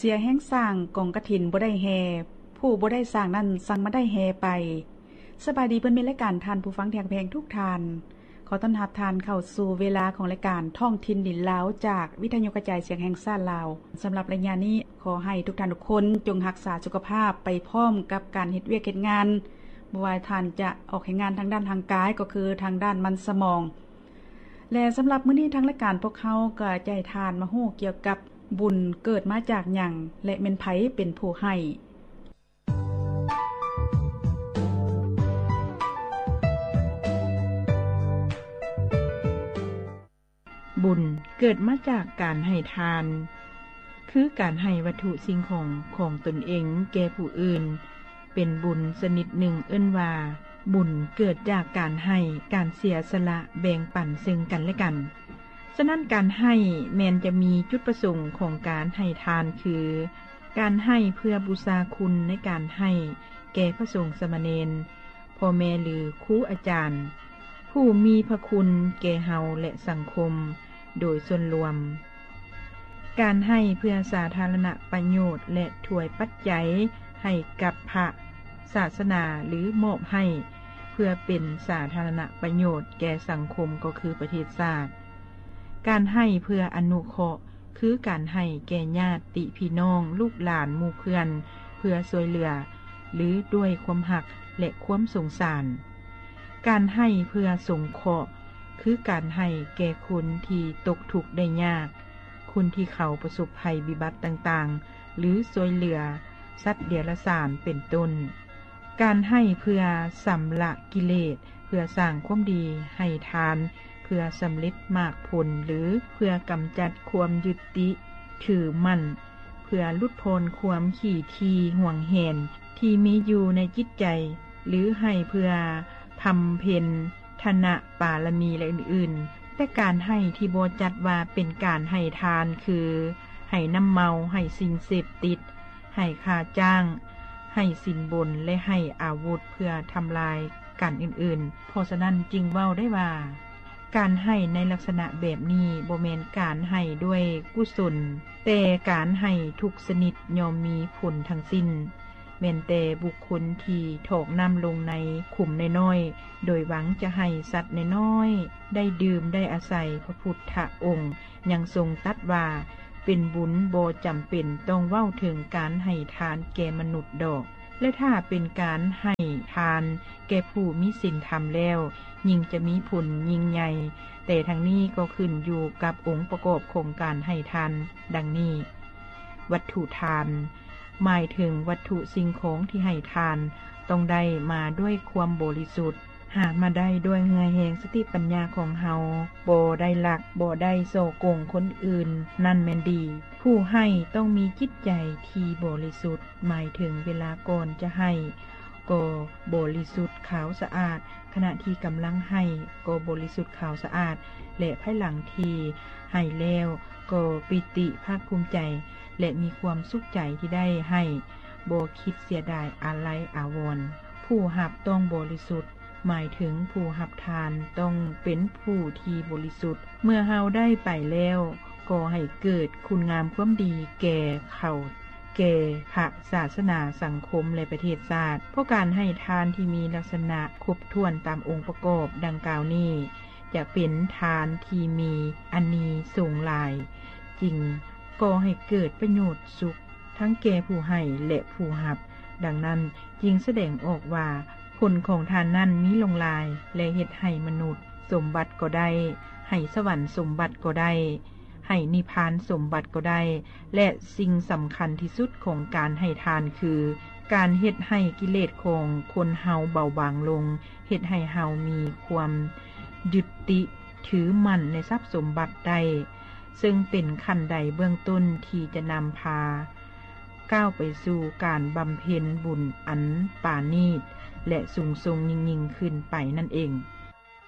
ສຽແຮງສ້າງກອງກະຖິນບໍ່ໄດ້ແຫ່, ຜູ້ບໍ່ໄດ້ສ້າງນັ້ນສັ່ງມາໄດ້ແຫ່ໄປ. ສະບາຍດີເພື່ອນມິດລາຍການ, ທ່ານຜູ້ຟັງທີ່ຮັກແພງທຸກທ່ານ. ຂໍຕ້ອນຮັບທ່ານເຂົ້າສູ່ເວລາຂອງລາຍການທ້ອງຖິ່ນດິນລາວ ຈາກວິທະຍຸກະຈາຍສຽງແຫ່ງຊາດລາວ. ສຳລັບໄລຍະນີ້ ຂໍໃຫ້ທຸກທ່ານທຸກຄົນຈົ່ງຮັກສາສຸຂະພາບໄປພ້ອມກັບການເຮັດວຽກເຮັດງານ, ບໍ່ວ່າທ່ານຈະອອກແຮງງານທາງດ້ານຮ່າງກາຍ ກໍຄືທາງດ້ານມັນສະໝອງ. ແລະ ສຳລັບມື້ນີ້ທາງລາຍການພວກເຮົາກໍຈະໃຫ້ທ່ານມາຮູ້ກ່ຽວກັບບຸນເກີດມາຈາກຫຍັງ ແລະ ແມ່ນໃຜເປັນຜູ້ໃຫ້. ບຸນເກີດມາຈາກການໃຫ້ທານ, ຄືການໃຫ້ວັດຖຸສິ່ງຂອງຂອງຕົນເອງແກ່ຜູ້ອື່ນ, ເປັນບຸນຊະນິດໜຶ່ງເອີ້ນວ່າ ບຸນເກີດຈາກການໃຫ້, ການເສຍສະຫຼະແບ່ງປັນເຊິ່ງກັນແລະກັນ. ສະນັ້ນ ການໃຫ້ແມ່ນຈະມີຈຸດປະສົງຂອງການໃຫ້ທານ ຄື ການໃຫ້ເພື່ອບູຊາຄຸນໃນການໃຫ້ແກ່ພະສົງສາມະເນນ, ພໍ່ແມ່ ຫຼື ຄູອາຈານ ຜູ້ມີພະຄຸນແກ່ເຮົາ ແລະ ສັງຄົມໂດຍສ່ວນລວມ, ການໃຫ້ເພື່ອສາທາລະນະປະໂຫຍດ ແລະ ຖວາຍປັດໄຈໃຫ້ກັບພະສາສະໜາ ຫຼື ມອບໃຫ້ເພື່ອເປັນສາທາລະນະປະໂຫຍດແກ່ສັງຄົມ ກໍຄືປະເທດຊາດ, ການໃຫ້ເພື່ອອະນຸເຄາະ ຄືການໃຫ້ແກ່ຍາດຕິພີ່ນ້ອງ, ລູກຫຼານ, ໝູ່ເພື່ອນ ເພື່ອຊ່ວຍເຫຼືອ ຫຼື ດ້ວຍຄວາມຮັກ ແລະ ຄວາມສົງສານ. ການໃຫ້ເພື່ອສົງເຄາະ ຄືການໃຫ້ແກ່ຄົນທີ່ຕົກທຸກໄດ້ຍາກ, ຄົນທີ່ເຂົາປະສົບໄພວິບັດຕ່າງໆ ຫຼື ຊ່ວຍເຫຼືອສັດເດຍລະສານ ເປັນຕົ້ນ. ການໃຫ້ເພື່ອຊຳລະກິເລດ, ເພື່ອສ້າງຄວາມດີ, ໃຫ້ທານເພື່ອສຳເລັດໝາກຜົນ ຫຼື ເພື່ອກຳຈັດຄວາມຍຶດຕິຖືໝັ້ນ, ເພື່ອຫຼຸດຜ່ອນຄວາມຂີ້ຖີ່ຫວງແຫນທີ່ມີຢູ່ໃນຈິດໃຈ, ຫຼື ໃຫ້ເພື່ອບຳເພັນທານະປາລະມີ ແລະ ອື່ນໆ. ແຕ່ການໃຫ້ທີ່ບໍ່ຈັດວ່າເປັນການໃຫ້ທານ ຄື ໃຫ້ນ້ຳເມົາ, ໃຫ້ສິ່ງເສບຕິດ, ໃຫ້ຄ່າຈ້າງ, ໃຫ້ສິນບົນ ແລະ ໃຫ້ອາວຸດເພື່ອທຳລາຍກັນອື່ນໆ. ເພາະສະນັ້ນຈຶ່ງເວົ້າໄດ້ວ່າ ການໃຫ້ໃນລັກສະນະແບບນີ້ບໍ່ແມ່ນການໃຫ້ດ້ວຍກຸສົນ, ແຕ່ການໃຫ້ທຸກຊະນິດຍ່ອມມີຜົນທັງສິ້ນ, ແມ່ນແຕ່ບຸກຄົນທີ່ຖອກນ້ຳລົງໃນຂຸມນ້ອຍໆ ໂດຍຫວັງຈະໃຫ້ສັດນ້ອຍໆໄດ້ດື່ມໄດ້ອາໄສ. ພະພຸດທະອົງ ຍັງຊົງຕັດວ່າ ເປັນບຸນບໍ່ຈຳເປັນຕ້ອງເວົ້າເຖິງການໃຫ້ທານແກ່ມະນຸດດອກ, ແລະ ຖ້າເປັນການໃຫ້ທານແກ່ຜູ້ມີສິນທຳແລ້ວ ຍິ່ງຈະມີຜົນຍິ່ງໃຫຍ່, ແຕ່ທັງນີ້ກໍຂຶ້ນຢູ່ກັບອົງປະກອບຂອງການໃຫ້ທານ ດັ່ງນີ້: ວັດຖຸທານ ໝາຍເຖິງວັດຖຸສິ່ງຂອງທີ່ໃຫ້ທານ ຕ້ອງໄດ້ມາດ້ວຍຄວາມບໍລິສຸດ, ຫາມາໄດ້ດ້ວຍເຫື່ອແຮງສະຕິປັນຍາຂອງເຮົາ, ບໍ່ໄດ້ລັກ, ບໍ່ໄດ້ສໍ້ໂກງຄົນອື່ນ, ນັ້ນແມ່ນດີ. ຜູ້ໃຫ້ຕ້ອງມີຈິດໃຈທີ່ບໍລິສຸດ, ໝາຍເຖິງເວລາກ່ອນຈະໃຫ້ກໍບໍລິສຸດຂາວສະອາດ, ຂະນະທີ່ກຳລັງໃຫ້ກໍບໍລິສຸດຂາວສະອາດ, ແລະ ພາຍຫຼັງທີ່ໃຫ້ແລ້ວກໍປີຕິພາກພູມໃຈ ແລະ ມີຄວາມສຸກໃຈທີ່ໄດ້ໃຫ້, ບໍ່ຄິດເສຍດາຍອາໄລອາວອນ. ຜູ້ຮັບຕ້ອງບໍລິສຸດ, ໝາຍເຖິງຜູ້ຮັບທານຕ້ອງເປັນຜູ້ທີ່ບໍລິສຸດ. ເມື່ອເຮົາໄດ້ໄປແລ້ວ, ກໍໃຫ້ເກີດຄຸນງາມຄວາມດີແກ່ເຂົາ, ແກ່ພະສາສະໜາ, ສັງຄົມ ແລະ ປະເທດຊາດ. ເພາະການໃຫ້ທານທີ່ມີລັກສະນະຄົບຖ້ວນຕາມອົງປະກອບດັ່ງກ່າວນີ້ ຈະເປັນທານທີ່ມີອານິສົງຫຼາຍ, ຈຶ່ງກໍ່ໃຫ້ເກີດປະໂຫຍດສຸກ ທັງແກ່ຜູ້ໃຫ້ ແລະ ຜູ້ຮັບ. ດັ່ງນັ້ນຈຶ່ງສະແດງອອກວ່າ ຜົນຂອງທານນັ້ນມີຫຼວງຫຼາຍ ແລະ ເຮັດໃຫ້ມະນຸດສົມບັດກໍໄດ້, ໃຫ້ສະຫວັນສົມບັດກໍໄດ້, ໃຫ້ນິບພານສົມບັດກໍໄດ້ ແລະ ສິ່ງສຳຄັນທີ່ສຸດຂອງການໃຫ້ທານຄື ການເຮັດໃຫ້ກິເລດຂອງຄົນເຮົາເບົາບາງລົງ, ເຮັດໃຫ້ເຮົາມີຄວາມຍຶດຕິຖືໝັ້ນໃນຊັບສົມບັດໄດ້, ເຊິ່ງເປັນຂັ້ນໄດເບື້ອງຕົ້ນທີ່ຈະນຳພາກ້າວໄປສູ່ການບຳເພັນບຸນອັນປານີດ ແລະ ສູງສົ່ງຍິ່ງໆຂຶ້ນໄປນັ້ນເອງ.